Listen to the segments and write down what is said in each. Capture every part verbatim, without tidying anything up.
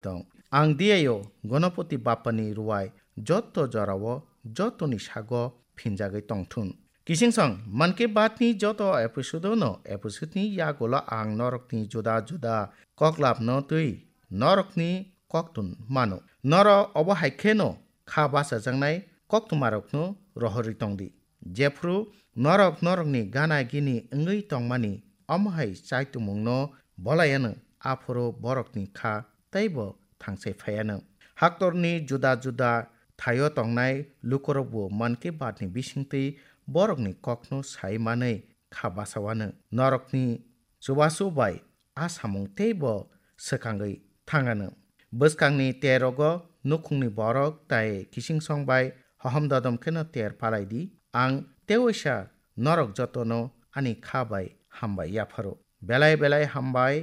tong. Ang diyaio Ganapati Bappani ruwai jotto jorao jottoni sago phinjagwi tongthun. Kisingsong Mann Ki Baat ni joto episode no episode ni yagulo ang norokni juda juda koklapno twi norokni koktun mano. Norok obo hai kheno kha bachajaknai koktwmarokno rohorwi tongdi. Jephru norok norokni gana gini wngwi tongmani omo hai chaitumungno bolai anw, aphuru borokni kha teibo thangsai phai anw. Haktorni juda juda thaio tongnai lukurokbo Mann Ki Baat ni bisingtwi borokni kokno sai manwi kha bachao anw. Norokni chubachu bai a samung teibo swkangwi thang anw. Bwskangni terogo nukhungni borok tai kisingsong bai hohom dodom kheno ter palai di. Ang tewaisa norok jotono ani kha bai hambai yapharo. Belai belai hambai,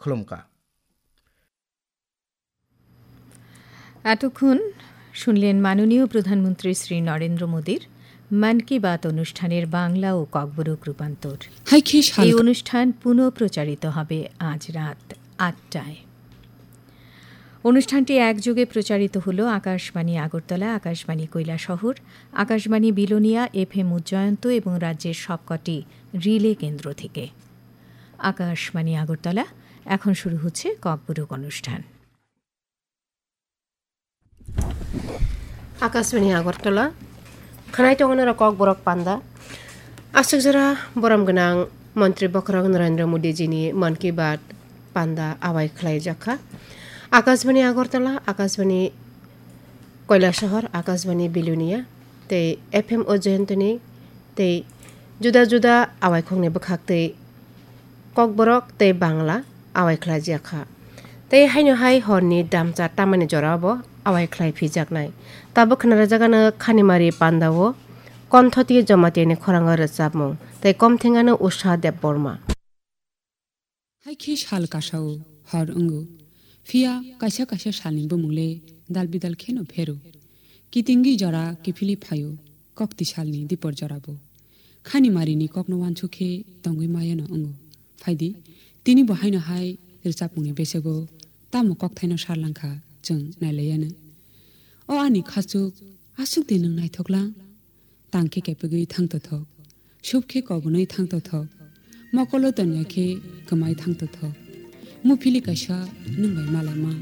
khulumkha. এতক্ষণ শুনলেন মাননীয় প্রধানমন্ত্রী শ্রী নরেন্দ্র মোদীর মন কি বাত অনুষ্ঠানের বাংলা ও ককবরক রূপান্তর। হাইখে এই শাল অনুষ্ঠান পুনঃ প্রচারিত হবে আজ রাত আটটায়। অনুষ্ঠানটি একযোগে প্রচারিত হলো আকাশবাণী আগরতলা, আকাশবাণী কৈলাসহর, আকাশবাণী বিলোনিয়া, এফএম উজ্জয়ন্ত এবং রাজ্যের সবকটি রিলে কেন্দ্র থেকে। আকাশবাণী আগরতলা, এখন শুরু হচ্ছে ককবরক অনুষ্ঠান। Akashbani Agartala, khwnai tongo norok Kokborok panda. Aswk jora borom gwnang Montri Bokhorok Narendra Modi jini Mann Ki Baat panda awai khlai jakha. Akashbani Agartala, Akashbani Koilasahar, Akashbani Bilonia, tei F M Ujjayantini tei juda juda awaikhokni bwkhaktwi Kokborok tei Bangla awai khlai jakha. Tei haino hai horni damcha tamani jorao bo awai khlai phijaknai. Tabuk khna rwjak ano Khanimari pandao Konthoti Jamatia ni khorang o rwchapmung tei komtheng ano Usha Debbarma. Hai khe sal kasao hor wngo, phiya kaisa kaisa salni bumung le dal bidal kheno phero. Kitingwi jora kiphilwi phaio, kokti salni dipor jorabo. Khanimarini kokno uansuk khe tongwi mayano wngo. Phaidi, tini bo haino hai rwchapmungni besego tamo kokthaino sarlangkha chwng nailaiyanw. O ani khachuk, aswk de nwng naithok lang? Tang khe kepegwi thang tothok, sup khe kobonwi thang tothok, mokolo tonya khe kwmai thang tothok. Muphili kaisa nwng bai malaima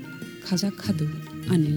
khajak khadu ani le.